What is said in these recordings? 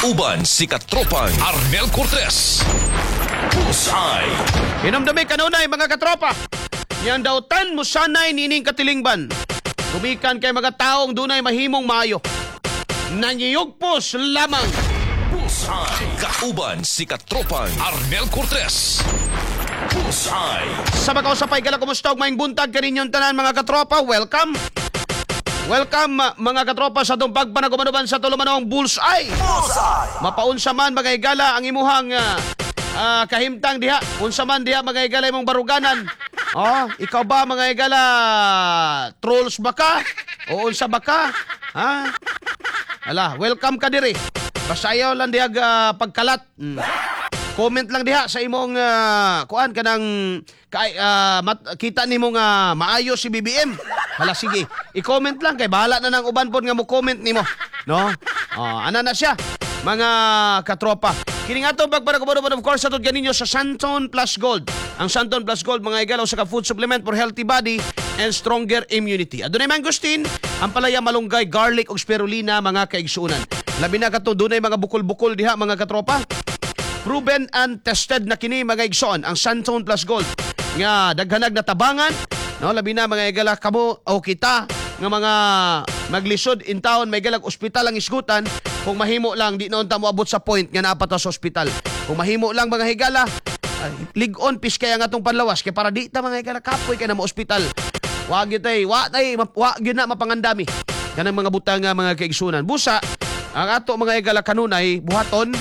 Kauban si Katropang Arnel Cortez. Bullseye. Hinumdumi kanunay, mga katropa. Niyang dautan mo sanay nining katilingban. Gumikan kay mga taong dunay mahimong maayo. Nangiyugpos lamang. Bullseye. Kauban si Katropang Arnel Cortez. Bullseye. Sa makausapay gala, kumusta og maayong buntag kaninyong tanan, mga katropa. Welcome. Welcome, mga katropa, sa atong pagpanagumanuban sa tulumanong Bullseye. Bullseye! Mapaunsa man, mga higala, ang imuhang kahimtang diha. Unsa man diha, mga higala, imong baruganan. Oh, ikaw ba, mga higala, trolls ba ka? O unsa ba ka? Ha? Ala, welcome ka diri. Basta ayaw lang diha pagkalat. Comment lang diha sa imong kuan kanang kay kita nimo nga maayo si BBM. Hala, sige, i-comment lang kay bahala na nang uban pod nga mo comment nimo, no? Oh, ana na siya, mga katropa. Kini nga atong pagpanaguban, of course, atod ganinyo sa Santon Plus Gold. Ang Santon Plus Gold, mga higala, usa ka food supplement for healthy body and stronger immunity. Adunay mangosteen, ampalaya, malunggay, garlic ug spirulina, mga kaigsuonan. Labi na katong dunay mga bukol-bukol diha, mga katropa. Proven and tested na kini, mga igsoon, ang Santon Plus Gold nga daghanag na tabangan, no? Labi na, mga higala, kamo o kita nga mga maglisod in town may galag ospital ang isgutan. Kung mahimo lang, di noon ta moabot sa point nga naa pa ta sa ospital. Kung mahimo lang, mga higala, ay, lig-on pis kaya nga atong panlawas kay para di ta, mga higala, kapoy kay na mo ospital. Wa gyud tay, wa tay, wa gyud na mapangandami kanang mga butang nga, mga kaigsunan. Busa ang ato, mga higala, kanunay buhaton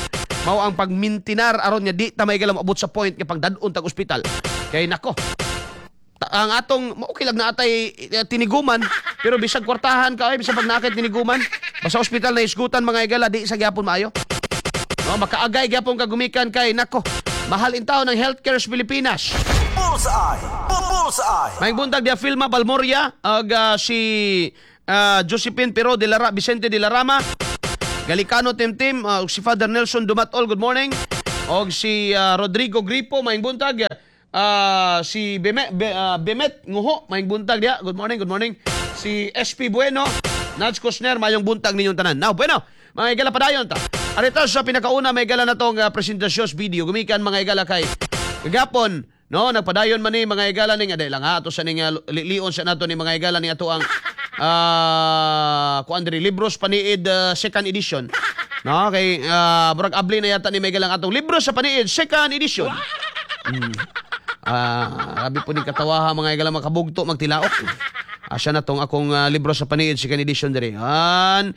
mao ang pagmintinar aron nga di ta may moabot sa point nga pagdad-on tag ospital. Kay nako, ang atong okay lang na atay tiniguman, pero bisag kwartahan ka ay bisag pag naa kay tiniguman, basta ospital na isgutan, mga higala, di sa gyapon maayo. No, makaagay gyapon ka gumikan kay nako, mahal in taon ang healthcare sa Pilipinas. Bullseye! Bullseye! Maayong buntag dia Filma Balmoria ag si Josephine Pero de la Vicente de la Rama, Galicano Timtim, ug si Father Nelson Dumatol, good morning. Og si Rodrigo Gripo, maayong buntag. Si Bemet Nguho, maayong buntag diha. Good morning, good morning. Si SP Bueno, Nats Kusner, maayong buntag ninyong tanan. Now, bueno, mga higala, padayon ta. Arito sa pinakauna, may gala na tong presentasyon video. Gumikan, mga higala, kay kagapon, no, nagpadayon man ni, mga higala, ning aday lang ha, ato sa ning lion sa nato ni, mga higala, ni ato ang kuan diri, Libros Paniid second edition. No, kay murag abli na yata ni may galang atong Libros sa Paniid second edition. Grabe po ni katawaha, mga higala, makabugto magtilaok. Asa na tong akong Libro sa Paniid second edition diri? An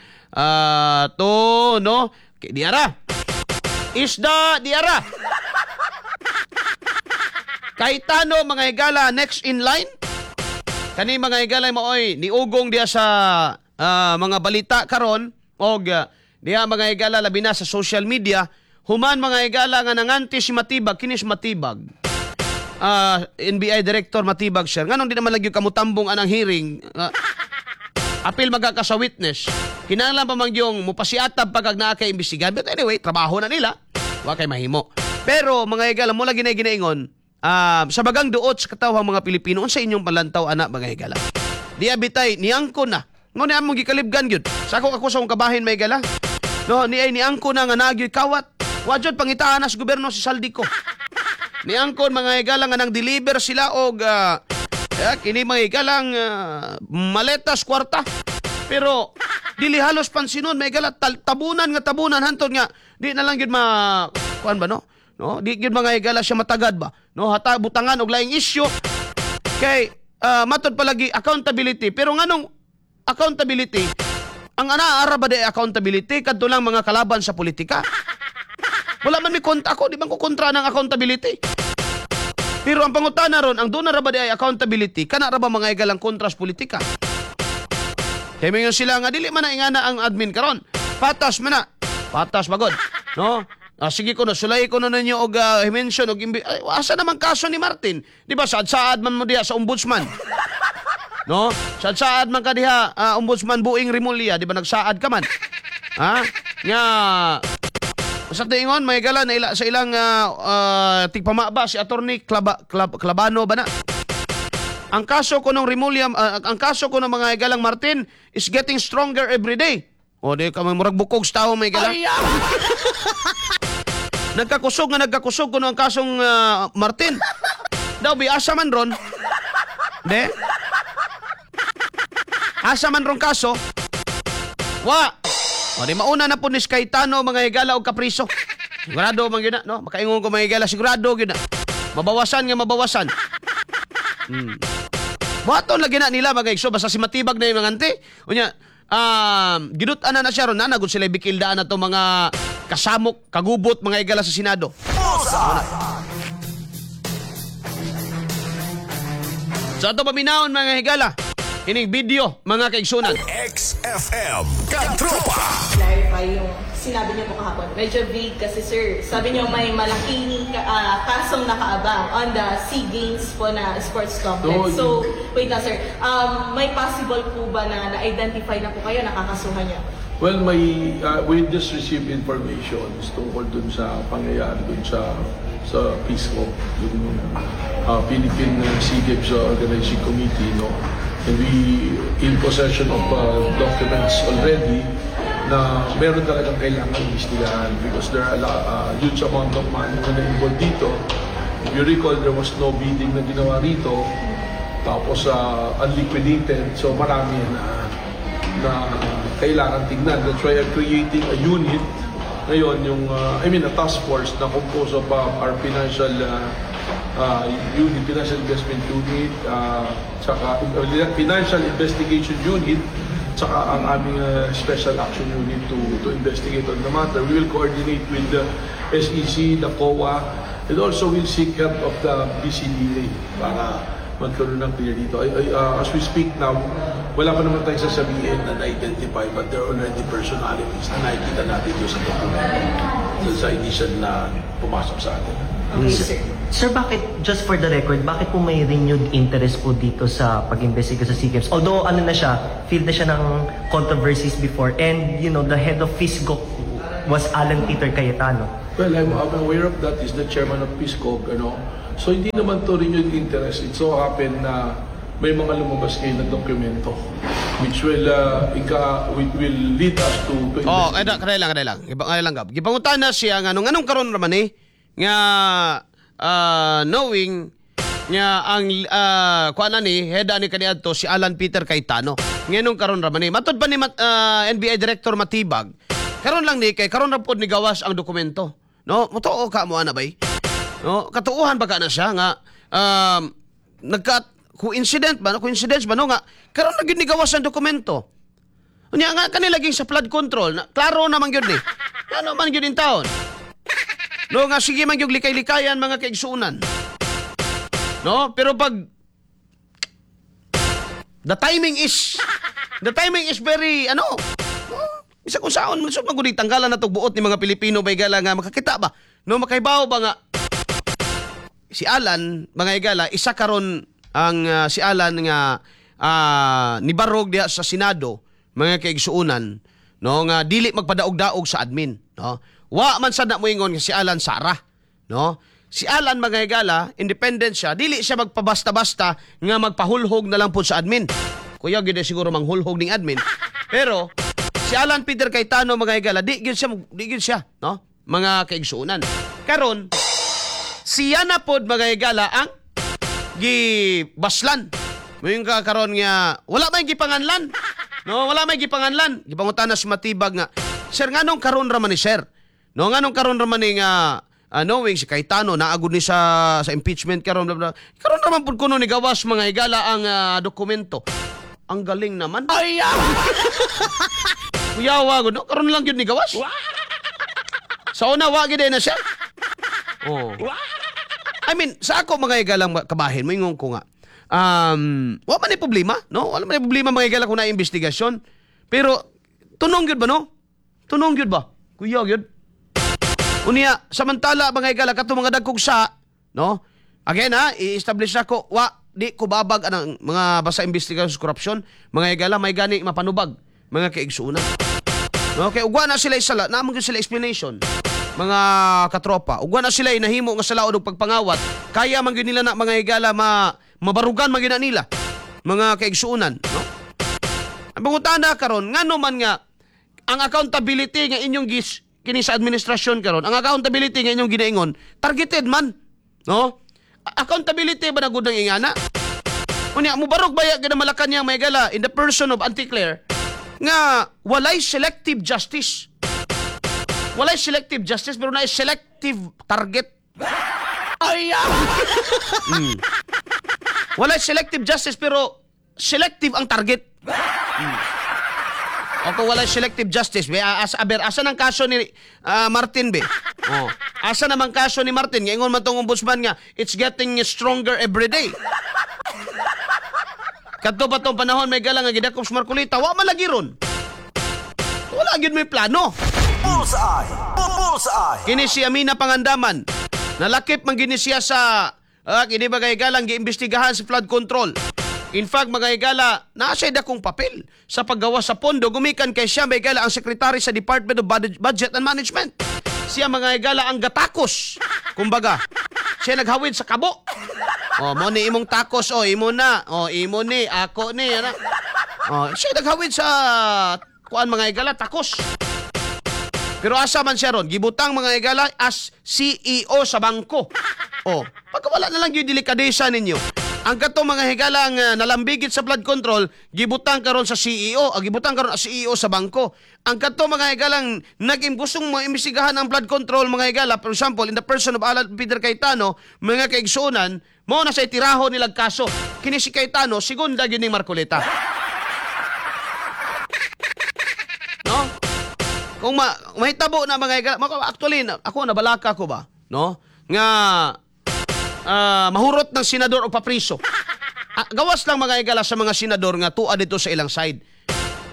to no, kay diara. Isda diara. Cayetano, mga higala, next in line. Kani, mga higala, maoy niugong diya sa mga balita karon og diha, mga higala, labi na sa social media human, mga higala, nga nanganti si Matibag. Kini si Matibag, NBI Director Matibag, sir, nganong di naman lagi kamutambong anang hearing? Apil magka sa witness, kinahanglan pa man yung mupasiatab pag naa kay imbestigahan. But anyway, trabaho na nila, wa kay mahimo. Pero, mga higala, mo lagi na ginaingon sa bagang duot sa katawhang mga Pilipino, unsa inyong palantaw ana, mga higala? Di abitay niangko na ngo ni among gikalibgan gyud sa ako sa akong kabahin, may gala, no, ni ay niangko na nga nagyoy kawat. Wa jud pangitaan na sa gobyerno si Zaldy Co. Niangkon, mga higala, nga nang deliver sila og kini, mga higalang, maletas kwarta. Pero dili halos pansinon, may gala, tabunan nga tabunan hantod nga di na lang gyud ma kuan ba, no? No, di gyud, mga higala, siya matagad ba? No, hata butangan og laing issue kay matod palagi accountability. Pero nganong accountability? Ang ana ara ba di accountability kadto lang mga kalaban sa politika? Wala man mi kontra ako, di man ko kontra ng accountability. Pero ang pangutana ron, ang doon na ra ba di ay accountability, kana ra ba, mga higalang, kontra sa politika? Kay mingon sila nga dili man na ingana ang admin karon. Patas man na. Patas magod. No? Ah, sige ko no, sulay ko no ninyo og mention og ay, asa naman kaso ni Martin? Di ba saad-saad man mo diha sa ombudsman? No? Saad-saad man ka diha, Ombudsman Buing Remulla, di ba nagsaad ka man? Ha? Nga sa tingon may gala na ila, sa ilang tigpamaba si Attorney Clabano ba na? Ang kaso ko ng Remulla, ang kaso ko ng mga higalang Martin is getting stronger every day. O di ka murag bukog sa tao, may gala. Nagkakusog nga nagkakusog kuno ang kasong Martin. Daw bi asa man ron? De? Asa man ron kaso? Wa. O di mauna na po ni Cayetano, mga higala, og kapriso. Sigurado man gyud na, no? Makaingon ko, mga higala, sigurado gyud na. Mabawasan nga mabawasan. Buhaton lagi na nila, mga igso, basta si Matibag na yung mga ante. Unya, ginut-an na na siya ron, na sila bikildaan na to mga kasamok, kagubot, mga higala, sa Senado. Bullseye. So ato paminawon, mga higala, ining video, mga kaigsunan. XFM Katropa. Clarify yung sinabi niyo po kahapon. Medyo vague kasi, sir. Sabi niyo may malaking kasong nakaabang on the SEA Games po na sports complex. No. So, wait lang, sir. May possible po ba na na-identify na po kayo, nakakasuhan niyo? Well, we just received information tungkol dun sa pangyayari dun sa PSCO, yung Philippine SEA Games Organizing Committee, no? And we in possession of documents already na meron talagang kailangan imbestigahan because there are a huge amount of money na na-involved dito. If you recall, there was no bidding na ginawa rito. Tapos unliquidated, so marami na na kailangan tignan. That's why I'm creating a unit ngayon, yung, I mean, a task force na composed of our financial unit, financial investment unit, tsaka financial investigation unit, tsaka ang aming special action unit to investigate on the matter. We will coordinate with the SEC, the COA, and also we'll seek help of the BCDA para magkaroon ng clear dito. As we speak now, wala pa naman tayong sasabihin na na-identify, but there are already personalities na nakikita natin doon sa dokumento, doon sa initial na pumasok sa atin. Okay, sir. Sir, bakit, just for the record, bakit po may renewed interest po dito sa pag-investiga sa SEA Games? Although, ano na siya, filled na siya ng controversies before. And the head of PHISGOC was Alan Peter Cayetano. Well, I'm aware of that. Is the chairman of PHISGOC, ano. So, hindi naman to renewed interest. It so happened na may mga lumabas ngayon na dokumento which will lead us to Oh, investigate. kada kada lang, kada lang. Iba kada lang, Gab. Gipangutan na siya nga nung anong karon raman eh nga knowing nga ang kuan na ni head ani kaniadto si Alan Peter Cayetano. Nganong karon raman ni? Matod pa ni NBI Director Matibag, karon lang ni kay karon ra pod ni gawas ang dokumento. No, motoo ka mo ana bay? No, katuuhan ba ka na siya nga nagka coincident ba, no? Coincidence ba, no, nga karon na gyud ni gawas ang dokumento? Unya nga kanila laging sa flood control na klaro naman gyud ni. Ano man gyud in taon. No, nga sige man gyud likay-likayan, mga kaigsuonan. No, pero pag the timing is very ano, no, bisa kung saon man so magud tanggalan na buot ni mga Pilipino bay gala nga makakita ba, no, makaibaw ba nga si Alan, mga higala, isa karon ang si Alan nga nibarog diha sa Senado, mga kaigsuonan, no, nga dili magpadaog-daog sa admin, no? Wa man sad na moingon nga si Alan Sara, no? Si Alan, mga higala, independent siya, dili siya magpabasta-basta nga magpahulhog na lang po sa admin. Kuya gyud eh siguro manghulhog ning admin, pero si Alan Peter Cayetano, mga higala, di gyud siya, no, mga kaigsuonan. Karon siya na pod, mga higala, ang gibaslan. Moingon ka karon nga wala may gipanganlan. No, wala may gipanganlan. Gipangutan na si Matibag nga, "Sir, nganong karon ra man ni, sir? No, nganong karon ra man ni nga knowing si Cayetano naagod ni sa impeachment karon, blah, blah. Karon ra man pud kuno ni gawas, mga higala, ang dokumento." Ang galing naman. Ay! Kuyawa gud, no? Karon lang gyud ni gawas. Sa una wa gyud na siya. Oh. I mean, sa ako, mga higalang kabahin, moingon ko nga, wa man ni problema, no? Wala man ni problema, mga higala, kung na investigasyon. Pero, tunong gyud ba, no? Tunong gyud ba? Kuya gyud. Unya, samantala, mga higala, kato mga dagkog sa, no? Again ha, i-establish ako, wa, di ko babag anang mga basta investigasyon sa korupsyon, mga higala, may gani mapanubag, mga kaigsuonan. No, kay ugwa na sila isala, naamon gyud sila explanation. Mga katropa, ugwa na sila nahimo nga sala og pagpangawat, kaya man gyud nila na, mga higala, ma mabarugan man gyud na nila, mga kaigsuonan, no? Ang pangutana karon, ngano man nga Ang accountability nga inyong gis kini sa administrasyon karon, ang accountability nga inyong ginaingon, targeted man. No? Accountability ba na gud ang ingana? Unya mubarog baya gid ang Malacanang, mga higala, in the person of Auntie Claire, nga walay selective justice. Walay selective justice pero naay selective target. Ay! Walay selective justice pero selective ang target. O kung walay selective justice, be, aber, asa ng kaso ni Martin, be? Oh. Asa naman kaso ni Martin? Ngayon man tong ombudsman nga, it's getting stronger every day. Kadto pa tong panahon, mga higala, nga gidakop si Marcoleta, wa man lagi ron. Wala gyud may plano. Bullseye! Bullseye! Kini si Amina Pangandaman. Nalakip man gini siya sa kini mga higalang giimbestigahan sa flood control. In fact, mga higala, naa siya dakong papel sa paggawa sa pondo gumikan kay siya, mga higala, ang sekretary sa Department of Budget and Management. Siya, mga higala, ang gatakos. Kumbaga, siya naghawid sa kabo. Oh, mo ni imong takos, oh, imo na. Oh, imo ni, ako ni, ana. Oh, siya naghawid sa kuan, mga higala, takos. Pero asa man siya ron, gibutang, mga higala, as CEO sa bangko. Oh, pagka wala na lang yung delikadesa ninyo. Ang katong mga higala ang nalambigit sa flood control, gibutang karon sa CEO, gibutang karon as CEO sa bangko. Ang katong mga higalang naging gustong mga imbestigahan ang flood control, mga higala, for example, in the person of Alan Peter Cayetano, mga kaigsuonan, mo na sa itiraho nilag kaso. Kini si Cayetano, segunda gyud ning Marcoleta. No? Kung mahitabo na, mga higala, actually, ako nabalaka ko ba, no? Nga mahurot ng senador o papriso. Gawas lang, mga higala, sa mga senador nga tuwa dito sa ilang side.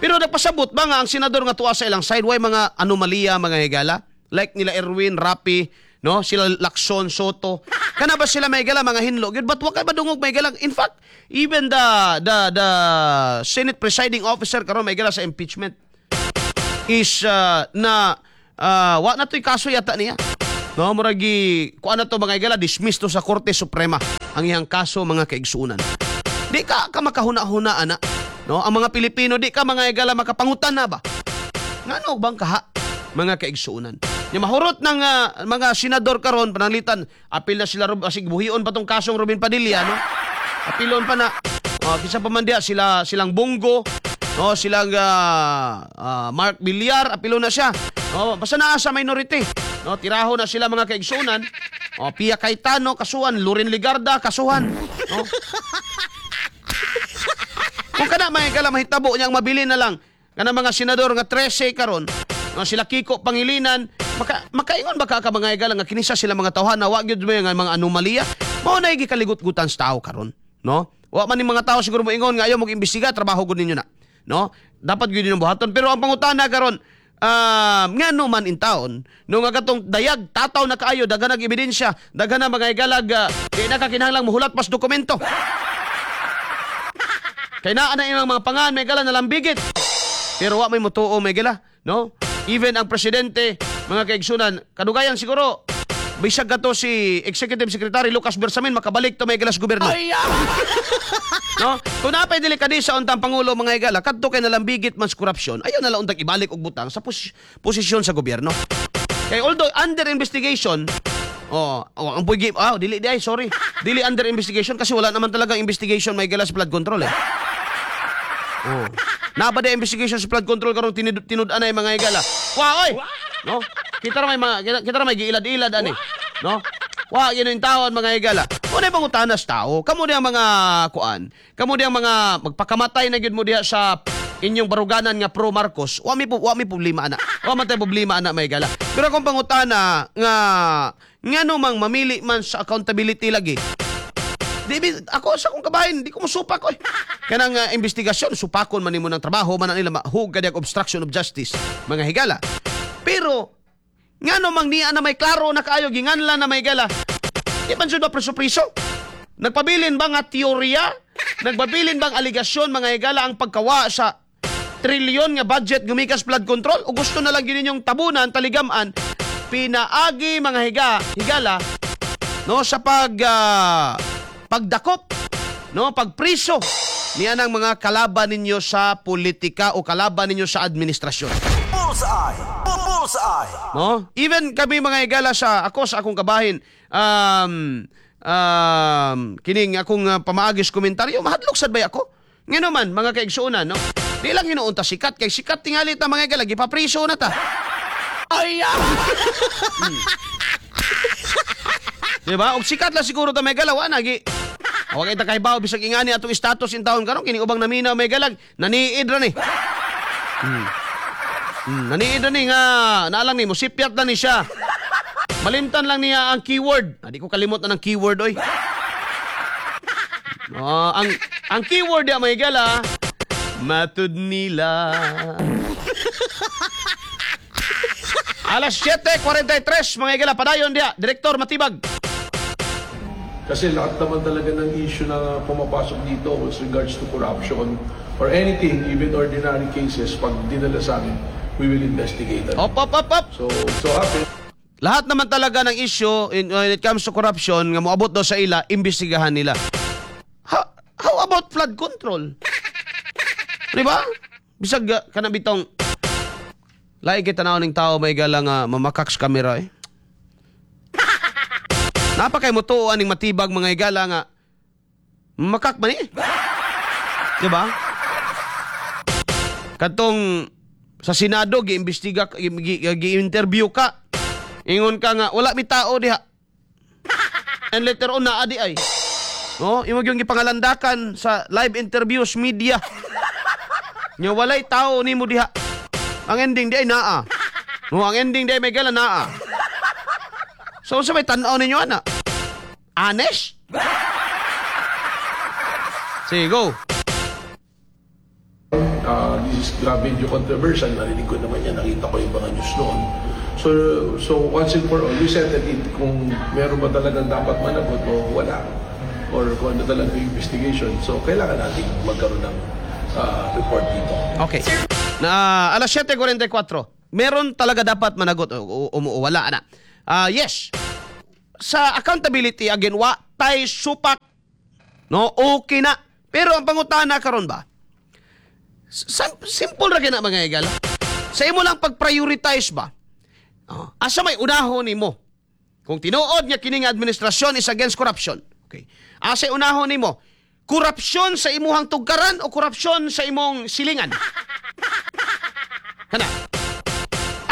Pero nagpasabot ba nga ang senador nga tuwa sa ilang side way mga anomalya, mga higala? Like nila Erwin, Rapi, no? Sila Lacson, Sotto. Kana ba sila, mga higala, mga hinlo? Gyud but wa kay madungog, mga higala? In fact, even the Senate presiding officer karon, mga higala, sa impeachment is na wa na to'y kaso yata niya. No, muragi kuan na to, mga higala, dismiss to sa Korte Suprema ang iyang kaso, mga kaigsuonan. Di ka ka makahuna-huna ana. No, ang mga Pilipino di ka, mga higala, makapangutan na ba? Ngano bang kaha, mga kaigsuonan? Nya mahurot ng mga senador karon pananglitan apil na sila asig buhion pa tong kasong Robin Padilla, no? Apilon pa na. Oh, kinsa pa man diya sila silang Bong Go, no, silang Mark Villar, apilon na siya. No, basta naa sa minority. No, tiraho na sila, mga kaigsuonan. Oh, Pia Cayetano kasuhan, Loren Legarda kasuhan. No? Kung kana, mga higala, mahitabo niyang mabili na lang kana mga senador nga 13 karon, no, sila Kiko Pangilinan, makaingon ba ka mga higala nga kinisa sila mga tawhan na wa gyud mo nga mga anomalya? Mao na gikaligot-gutan sa tao karon, no? Wa man ni mga tao siguro moingon nga ayaw mo imbestiga, trabaho gud ninyo na, no? Dapat gyud ninyong buhaton, pero ang pangutana karon, ngano man in taon no nga katong dayag tataw na kaayo, daghan nag ebidensya, daghan na, mga higalag, di na ka kinahanglang muhulat pas dokumento. Kay naa na ilang mga pangan, mga higala, nalambigit. Pero wa may mutuo, mga higala, no? Even ang presidente, mga kaigsunan, kadugayan siguro, bisag kato si Executive Secretary Lucas Bersamin makabalik to, mga higala, sa gobyerno. No? Kung napay delikadesa untang pangulo, mga higala, kadto kay nalambigit man sa korupsyon, ayaw na lang untang ibalik og butang sa posisyon sa gobyerno. Kay although under investigation, oh, ang puigi, dili di ay, sorry. Dili under investigation kasi wala naman talagang investigation, mga higala, sa flood control eh. Oh. Naa ba di investigation sa flood control karong tinud-an ay, mga higala? Wa oy. No? Kita ra may giilad-ilad ani. No? Wa yun yung taon, mga higala. Unay pangutanas tao, kamo diyang mga kuan, kamo diyang mga magpakamatay na gyud mo diha sa inyong baruganan nga pro Marcos, wa mi problema ana. Wa man tay problema ana, mga higala. Pero kung pangutana nga ngano mang mamili man sa accountability lagi, di ako sa akong kabahin, di ko musupak oy. Kanang investigasyon, supakon man nimo ng trabaho, man na nila mahug ka diag obstruction of justice, mga higala. Pero ngano mang niya na may klaro na kaayo ginganlan na may higala. Di man jud ba preso-preso? Nagpabilin ba nga teorya? Nagpabilin bang aligasyon, mga higala, ang pagkawa sa trilyon nga budget gumikas flood control? O gusto na lang yun inyong tabunan, taligaman, pinaagi, mga higala, no, sa pagdakop, no, pagpriso niya ng mga kalaban ninyo sa politika o kalaban ninyo sa administrasyon. Bullseye. Bullseye. No? Even kami mga higala sa ako sa akong kabahin, kining akong pamaagis komentaryo, mahadlok sad bay ako. Ngano man mga kaigsuonan, no? Di lang hinuon ta sikat kay sikat tingali ta mga higala, gipapriso na ta. Ay! Di ba? Og sikat lang siguro ta mga higala, wa na gi. Wa kay ta kahibaw bisag ingani atong status in taon karon kini ubang naminaw mga higala, naniid ra ni. Naniid ra ni nga naalang ni mo sipyat na ni siya. Malimtan lang niya ang keyword. Ah, di ko kalimot na ng keyword oy. Oh, ang keyword ya mga higala, matud nila. Alas 7:43 mga higala, padayon diya, Direktor Matibag. Kasi lahat naman talaga ng issue na pumapasok dito with regards to corruption or anything, even ordinary cases, pag dinala sa amin, we will investigate it. Op, op, op, op. So, so happen, Lahat naman talaga ng issue when it comes to corruption nga moabot daw sa ila, imbestigahan nila. How about flood control? Di ba? Bisag kana bitong lahi kay tanaw ning tao may gala nga mamakak sa kamera eh. Napakay mo tuo aning matibag mga higala nga makak man eh. Di ba? Katong sa Senado giimbestiga, gi-interview ka. Ingon ka nga wala mi tao diha. And later on naa di ay. No, imo gyud gipangalandakan sa live interviews media. Nya walay tao nimo diha. Ang ending di ay naa. No, ang ending di ay may gala naa. So unsa may tan-aw ninyo ana? Honest? Sige, go. This is grabe medyo controversial. Narinig ko naman yan, nakita ko yung mga news noon. So once and for all, we settled it kung meron ba talagang dapat managot o wala. Or kung ano talaga yung investigation. So, kailangan natin magkaroon ng report dito. Okay. Na alas 7:44. Meron talaga dapat managot o wala na. Ah, yes. Sa accountability again, wa tay supak. No, okay na. Pero ang pangutana karon ba? Simple ra gyud na mga higala. Sa imo lang pag-prioritize ba? Oh, asa may unahon nimo? Kung tinuod nga kining administrasyon is against corruption. Okay. Asa unahon nimo? Korupsyon sa imuhang tugkaran o korupsyon sa imong silingan? Kana.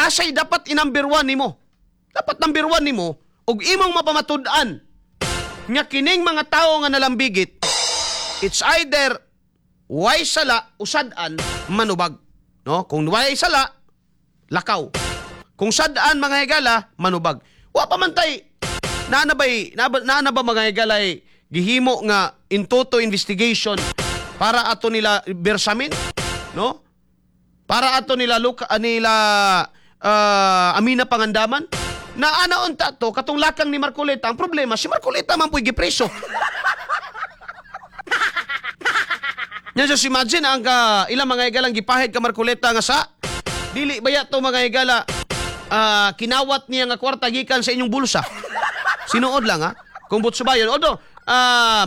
Asay dapat i-number one nimo? Dapat number one nimo og imong mapamatud-an nga kining mga tawo nga nalambigit, it's either way sala o sad-an manubag. No? Kung way sala, lakaw. Kung sad-an mga higala, manubag. Wa pa man tay naa na ba mga higalay gihimo nga in toto investigation para ato nila Bersamin, no? Para ato nila luka, nila Amina Pangandaman? Na ana unta to katong lakang ni Marcoleta. Ang problema, si Marcoleta man pu'y gipreso. Nya just imagine ang ka, ilang mga higalang gipahid ka Marcoleta nga sa dili baya to mga higala, kinawat niya nga kwarta gikan sa inyong bulsa. Sinuod lang ha. Kung butsubayon. Although,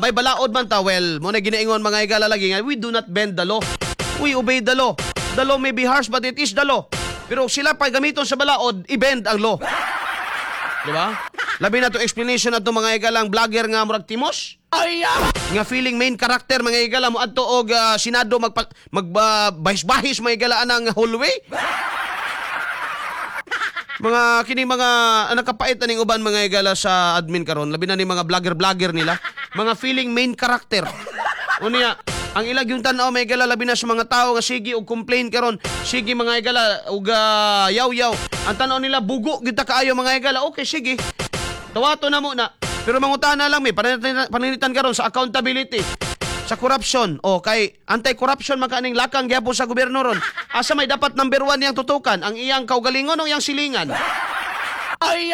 may balaod man ta, well, mo na ginaingon mga higala lagi nga, we do not bend the law. We obey the law. The law may be harsh, but it is the law. Pero sila pa gamiton sa balaod, i-bend ang law. Di ba? Labi na to explanation na to mga higalang vlogger nga murag timos. Ay! Nga feeling main character mga higala mo adto og Senado magpa, mag bahis-bahis mga higala anang hallway. Mga kini mga nakapait aning uban mga higala sa admin karon, labi na ni mga vlogger-vlogger nila, mga feeling main character. Unya, ang ilag yung tan-aw mga higala, labi na sa mga tao nga sige og complain karon, sige mga higala og yaw-yaw. Ang tan-aw nila bugo gyud ta kaayo mga higala. Okay, sige. Tawato na mo na. Pero mangutana lang may paninitan karon sa accountability, sa corruption. O kay anti-corruption man kaning lakang gyapon sa gobyerno ron. Asa may dapat number one niyang tutukan? Ang iyang kaugalingon o iyang silingan? Ay!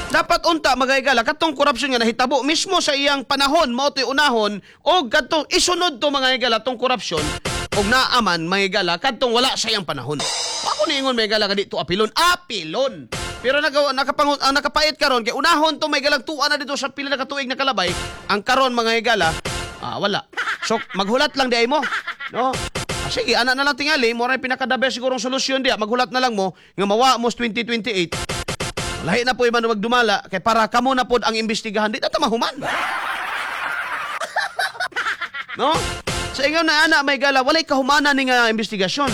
Dapat unta mga higala katong corruption nga nahitabo mismo sa iyang panahon mao to'y unahon og kadtong isunod to mga higala tong corruption og naaman mga higala kadtong wala sa iyang panahon. Ako niingon mga higala nga di to apilon, apilon. Pero ang nakapait karon kay unahon to may galang tuwa na dito sa pila na katuig na kalabay. Ang karon mga higala, Wala. So maghulat lang di ay mo. No? Ah, sige, ana na lang tingali, mo ra pinaka the best sigurong solusyon diya, maghulat na lang mo nga mawa mo sa 2028. Lahi na po iba na magdumala kay para kamo na pod ang imbestigahan, di na ta mahuman. No? Sa ingon na ana, may gala, walay kahumana ni nga investigasyon.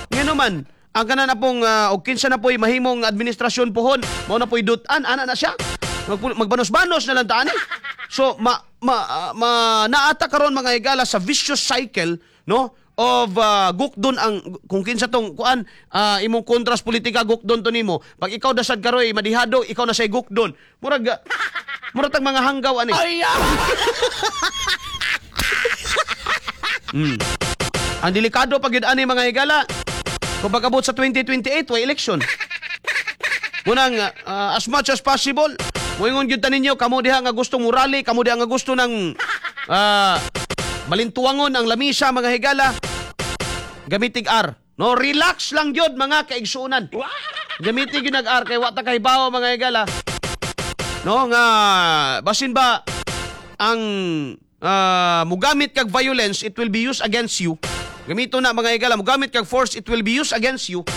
Ngano man, ang kana na pong og kinsa na po'y mahimong administrasyon pohon, mao na po'y dutan ana na siya. Magbanos-banos na lang taan eh. So ma naata karon, mga higala, sa vicious cycle, no, of gukdon ang kung kinsa tong kuan, imong kontras politika, gukdon to nimo. Pag ikaw dasad karoy madihado, ikaw na say gukdon. Murag tag mga hanggaw ani. Ang delikado pag yun ani, mga higala. Kung pag-abot sa 2028, way election. Munang as much as possible, moingon gyud ta ninyo, kamo diha nga gusto mo rally, kamo diha nga gusto ng balintuangon ang lamisa, mga higala, gamitig R. No, relax lang gyud, mga kaigsuonan. Gamitig gyud nag R kay wa ta kahibawo, mga higala. No, nga basin ba ang mugamit kag violence, it will be used against you. Gamito na, mga higala, mugamit kag force, it will be used against you,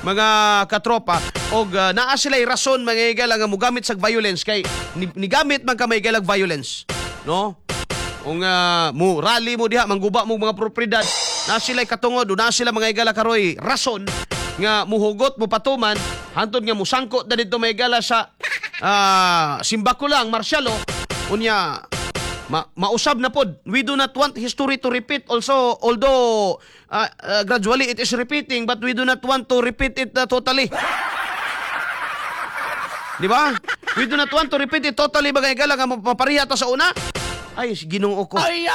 mga katropa. Og naa sila rason, mga higala, nga mugamit sa violence kay nigamit man ka, mga higala, violence. No? Kung mo rally mo diha, mangguba mo mga propriedad, na sila katungod, o na sila, mga higala, karoy rason nga muhugot mo patuman hantod nga musangko na dito, mga higala, sa simbako lang martial law. Unya mausab na pod. We do not want history to repeat also, although gradually it is repeating, but we do not want to repeat it totally. Di ba? We do not want to repeat it totally, mga higala, nga mapareha ta sa una. Ay, Ginoo ko. Ay,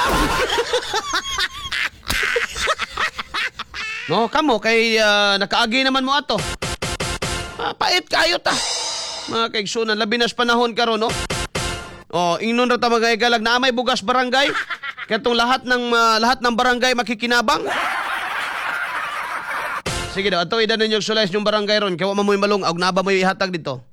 no, kamo kay nakaagi naman mo ato. Ah, pait kayo ta. Mga kaigsunan, labi nas panahon karon, no? Oh, ingnon ra ta, mga higalag, na may bugas barangay. Katong lahat ng barangay makikinabang. Sige daw, ato idan ninyo sulay yung barangay ron kay wa man mo'y malung og naba mo'y ihatag dito.